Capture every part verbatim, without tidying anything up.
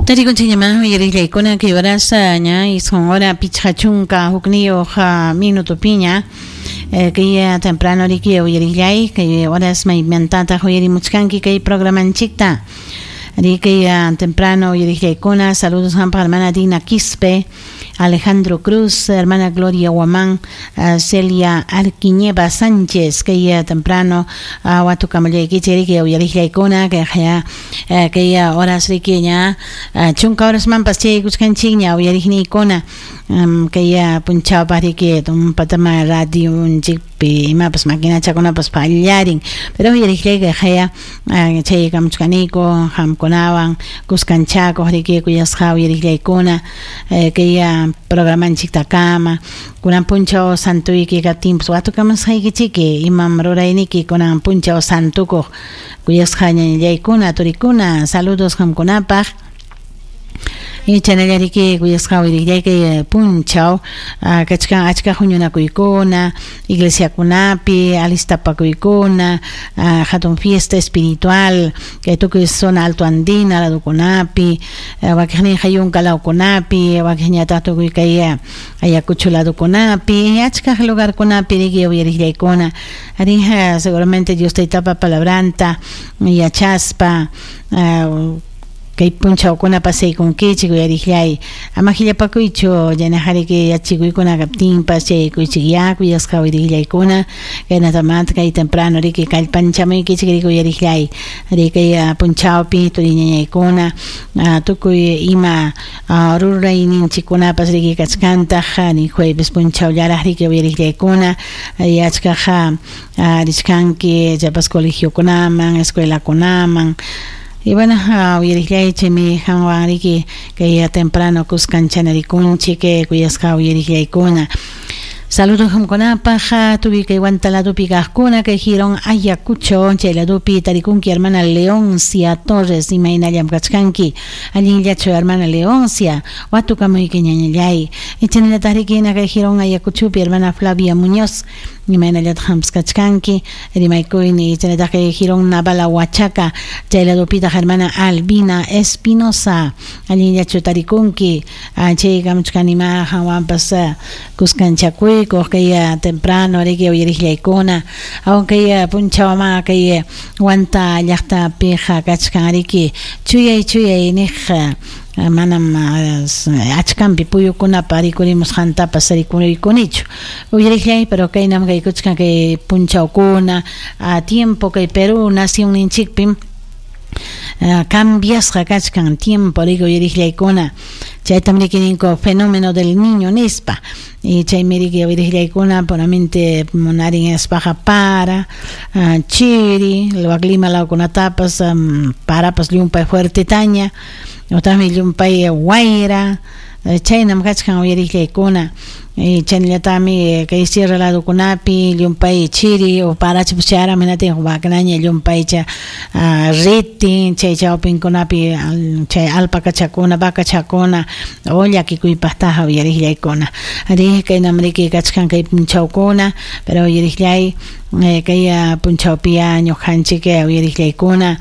Tarikunchikñaman uyariqllaykuna kay horasa ña isqun hora pichqa chunka hukniyuq minutupiña kay temprano riki uyariqllay kay horas maymantataq uyarimuchkanki kay programanchikta riki temprano uyariqllaykuna. Saludos hampaq hermana Dina Quispe, Alejandro Cruz, hermana Gloria Guamán, Celia Arquiñeva Sánchez, kay temprano watukamallaykichik riki uyariqllaykuna kay kay horas riki ña chunka horasmanpas chaykuchkanchikña uyariqniykuna kay punchawpaq riki tumpatama radionchikpi imapas maquinachakunapas pallarin, pero uyariqllay kay chaykamuchkaniku qamkunawan kuskanchakuq riki kuyasqa uyariqllaykuna kay programanchiktakama kunan punchaw santuyki kaptinpas watukamasqaykichiki imam rurayniki kunan punchaw santukuq kuyasqa ñañallaykuna turikuna. Saludos qamkunapaq. Chanallariki kuyasqa uyariqllay kay punchaw kachkan achka huñunakuykuna iglesiakunapi alistapakuykuna hatun fiesta espiritual kay tukuy zona alto andina ladukunapi wakiqninqa yunka lawkunapi wakiqñataq tukuy kay Ayacucho ladukunapi achka lugarkunapi riki uyariqllaykuna arinja seguramente Dios taytapa palabranta yachaspa kay punchawkuna pasaykunkichik uyariqllay ama qillapakuychu yanaqariki yachikuykuna kaptinpas chaykuychik kuyasqa uyariqllaykuna kaynatamanta kay temprano riki kallpanchamuykichik riki uyariqllay riki punchawpi turiñañaykuna tukuy ima rurayninchikkunapas riki kachkantaq ni jueves punchawllaraq riki uyariqllaykuna achkaqa richkanki chapas colegiokunaman escuelakunaman. Y bueno, uyariqllay chaymi qanwan riki kay temprano kuskanchanarikunchik kuyasqa uyariqllaykuna. Saludos qamkunapaq tukuy kay Huanta ladupi kaqkuna kay Jirón Ayacucho chay ladupi tarikunki hermana Leoncia Torres imaynallam kachkanki allinllachu hermana Leoncia watukamuyki ñañallay chaynallataq rikina kay Jirón Ayacuchopi hermana Flavia Muñoz imaynallataq qampas kachkanki rimaykuyni chaynallataq kay Jirón Navala Huachaca chay ladupitaq hermana Albina Espinosa allinllachu tarikunki chay kamuchkanima qanwanpas kuskanchakuy kay temprano riki uyariqllaykuna aunque punchawma kay Huanta llaqtapiqa kachkan riki chuyay chuyay niq manam achkanpi puyukunapa rikurimusqantapas rikuriykunichu uyariqllay, pero kaynam kaykuchkan kay punchawkuna a tiempo kay Perú nacionninchikpim cambiasqa kachkan tiempo riki uyariqllaykuna chaytam riki ninku fenómeno del niño nispa y chaymi riki uyariqllaykuna puramente munarin aspaqa para chiri Lima lawkunatapas parapas llumpay fuertetaña utaqmi llumpay wayra chaynam kachkan uyariqllaykuna chaynallataqmi kay sierra ladukunapi llumpay chiri o parachapas chayara hinatin waknaña llumpaycha ritin chay chawpinkunapi chay alpakachakuna vacachakuna o llakikuypaqtaqa uyariqllaykuna ari kaynam riki kachkan kay punchawkuna pero uyariqllay kay punchawpiya ñuqanchik uyariqllaykuna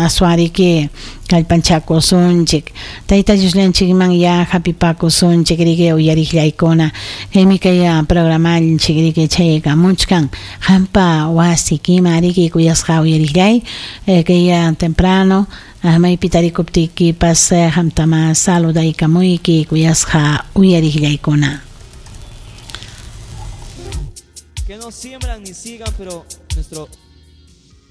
aswariki kallpanchakusunchik Tayta Diosllanchikman ya hapipakusunchik riki uyariqllaykuna kaymi kay programanchik riki chaykamuchkan qampa wasikima riki kuyasqa uyariqllay kay temprano maypi tarikuptiykipas qamtama saludaykamuyki kuyasqa uyariqllaykuna. Que no siembran ni sigan, pero nuestro